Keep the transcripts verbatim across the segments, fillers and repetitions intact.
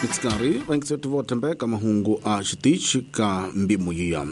Mitsikari vaingiseti vothembeka mahungu a xitichi ka mbimu yiya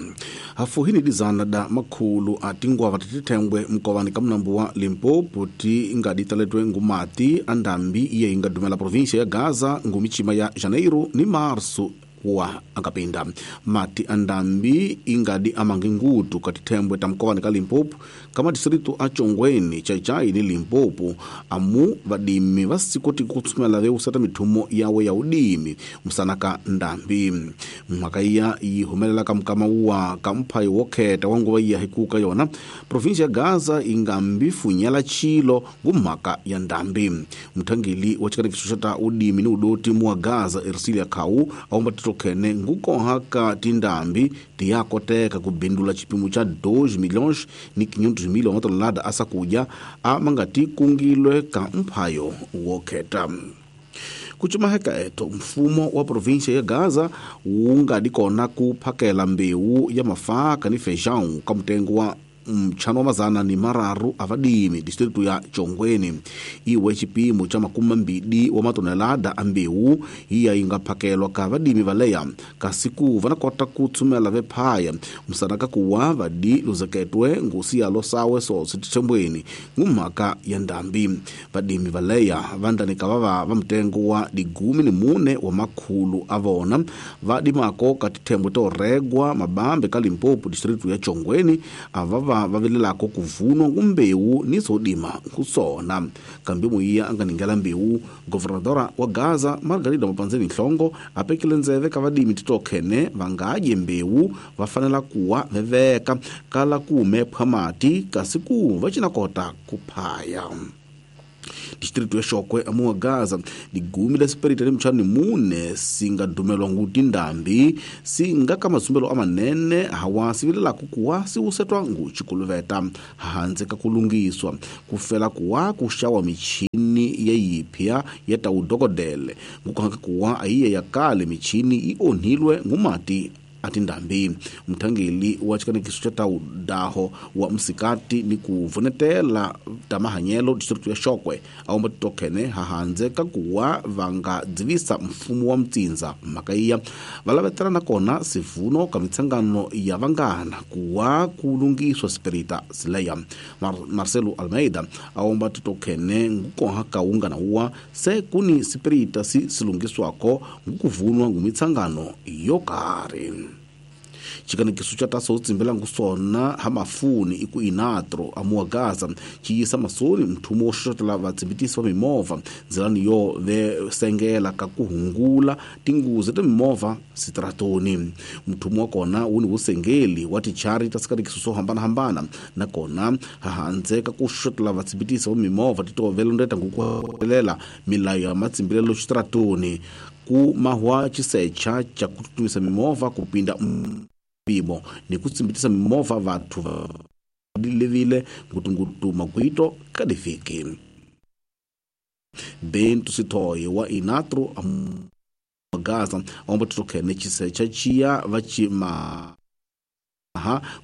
hafuhini dizana da makhulu a tingwava titithengwe mkovani ka munambu wa Limpopo ti nga ditaletwe ngumati a ndambi iye yi nga dumela província ya Gaza ngumichima ya Janeiro ni Março wa akapinda mati a ndambi ingadi amangi ngutu ka tithembwe ta mkovani ka Limpopo ka madistritu a Chongweni, Chaichai ni Limpopo amu vadimi vasikoti kutsumela veusata mithumo yawe ya udimi musana ka ndambi mhaka iya yi humelela ka mukama wa ka mphayi wo kheta wa nguva iya hikuka yona província ya Gaza ingambi funyela chilo ngumhaka ya ndambi muthangeli wa xikanekiso xa ta udimi ni udoti mu wa Gaza Ercilia Khau aumba khene ngukoha ka tindambi tiyakoteka ku bindula xipimo xa dois milhões ni quinhentos mil wa matonelada a sakudya a mangati kungilwe ka mphayo wo kheta. Kuchumaheka eto mfumo wa província ya Gaza wu nga di kona ku phakela mbewu ya mafaka ni feijão ka mutengo wa mchano wa mazana ni mararu avadimi distritu ya Chongweni iwe chipimo cha makumi mambili wa matonelada a mbewu iya inga phakelwa ka vadimi valeya kasi ku vana kota ku tsumela vephaya musana ka kuwa vadi luzeketwe ngusi ya losawe sosi tithembweni ngumhaka ya ndambi vadimi valeya vandanika vava va mutengo wa digumi ni mune wa makhulu a vona vadimako ka tithembwe to regwa mabambe ka Limpopo distritu ya Chongweni ava va vilelako ku vunwa ngumbewu ni sodima kusona kambe muyiya a nga ningela mbewu governadora wa Gaza Margarida Mapanzeni Nhlongo a pekile ndzeve ka vadimi titokhene va nga dye mbewu va fanela kuwa veveka kala ku mephwa mati kasi ku va cina kota ku phaya. Distrito ya Xokwe amuwa Gaza digumi la sipirita ni mchani mune singa dumelwa nguti ndambi singa ka masumbelo amanene hawa sivilela kukuwa siusetwa nguchikuluveta hanze ka kulungiswa kufela kuwa kushawa michini ya yipya ya taudokodele ngukuhaka kuwa aiye ya kale michini ionhilwe ngumati atindambi mthangeli wa xikanekiso xa taudaho wa msikati ni ku vunetela tamahanyelo district ya Xokwe aumba titokhene hahandze ka kuwa va nga dzivisa mfumo wa mtsindza mhaka iya va lavetela nakona sivuno ka mitsangano ya vangana kuwa ku lungiswa sipirita sileya. Mar Marcelo Almeida aumba titokhene ngukoha ka ungana uwa se kuni sipirita si silungiswako ngukuvunwa ngumitsangano yo karhi. Xikanekiso xa taso tsimbela ngusona ha mafuni iku inatro amuwa Gaza xiyisa masoni mthumo wo xoxotela vatsimbitisi va mimovha ndzilani yo ve sengela ka ku hungula tinguzi ta mimovha sitratoni mthumo wa kona wu ni vusengeli wa tichari ta swikanekiso swo hambanahambana nakona hahandze ka ku xoxotela vatsimbitisi va mimovha titovelondeta ngukuhelela milayo ya matsimbelelo xitratoni ku mahwa xisecha xa ku tsutsumisa mimovha ku pinda mpimo ni ku tsimbitisa mimovha vathu levile ngutungutu magwito ka divhiki. Bento Sithoye wa Inatro Gaza aomba titokhene xisecha xiya va ximaha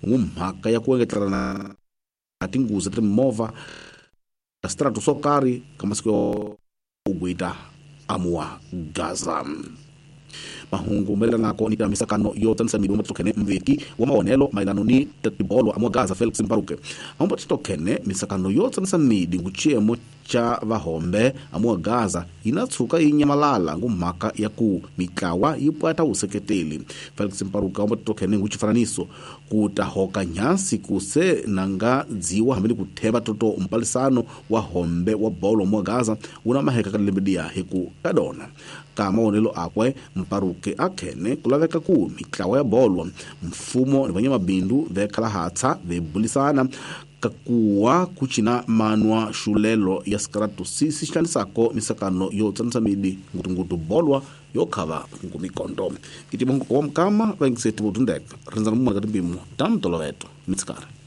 ngumhaka ya ku engetelana tinguzi ta mimovha strato swo karhi ka masiku yo ugwita amuwa Gaza. Mahungu mayelanako ni misakano yo tsanisa milomo titokhene mveki wa maonelo mayelano ni tibolo amuwa Gaza Felix Mbaruke aomba titokhene misakano yo tsanisa midi nguchiemo cha vahombe amuwa Gaza inatsuka inyamalala ngumhaka ya ku mitlawa yi pwata useketeli. Felix Mbaruke aomba titokhene nguchifananiso kutahoka nyasi kuse nanga dziwa hambi kutheba toto mpalisano wa hombe wa bolo amuwa Gaza una maheka ka lembedia hiku kadona ka maonelo akwe Mparuke akhene kulaveka ku mitlawa ya bolo mfumo ni vanyamabindu vekhala hatsa vebulisana kakuwa kuchina manwa xulelo ya sikaratu si sixanisako misakano yo tsanisa midi ngutungutu bolwa yo khava ngumikondo itibongo wa mukama vaingiseti votundeka rindzana mumaka timpimo ta mutoloveto mitsikari.